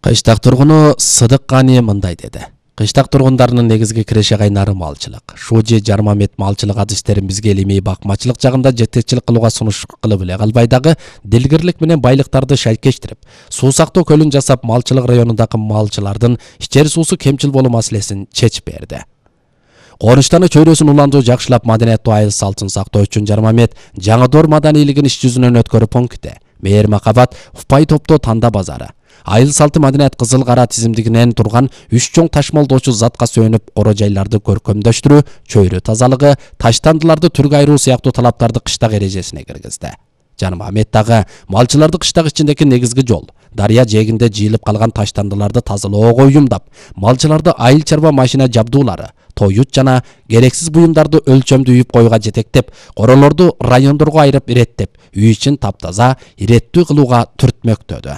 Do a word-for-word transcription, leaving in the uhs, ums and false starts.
Кыштак тургуну Сыдык Кани мындай деди. Кыштак тургундарынын негизги киреше кайнары малчылык. Шужи Жармамет малчылык адистерин бизге илимий бакмачылык жагында жетекчилик кылууга сунуш кылып эле калбай дагы дилгирлик менен байлыктарды шайкештирип, суу сактоо көлүн жасап малчылык районундагы малчылардын ичер суусу кемчил болуу маселесин чечип берди. Корунчтаны чөйрөсүн уландуу жакшылап маданияттуу айыл салтын сактоо үчүн Жармамет Жаңы Доор маданийлигин иш жүзүнөн өткөрүү пункти, Мээр Макабат, Упай Топто Танда базары, айыл салты маданият кызыл кара тизимдигинен турган үч чоң ташмолдоочу затка сөөнүп оро жайларды көркөмдөштүрүү, чөйрө тазалыгы, таштандыларды түргө айыруу сыяктуу талаптарды кыштак эрежесине киргизди. Жармамет дагы малчыларды кыштак ичиндеги негизги жол, дарыя жээгинде жыйылып калган таштандыларды тазалоого уюмдап, малчыларды айыл чарба машина жабдуулары, тоют жана керексиз буюмдарды өлчөмдүү үйүп коюуга жетектеп, королорду райондорго айырып иреттеп, үй ичин таптаза, иреттүү кылууга түртмөктөдү.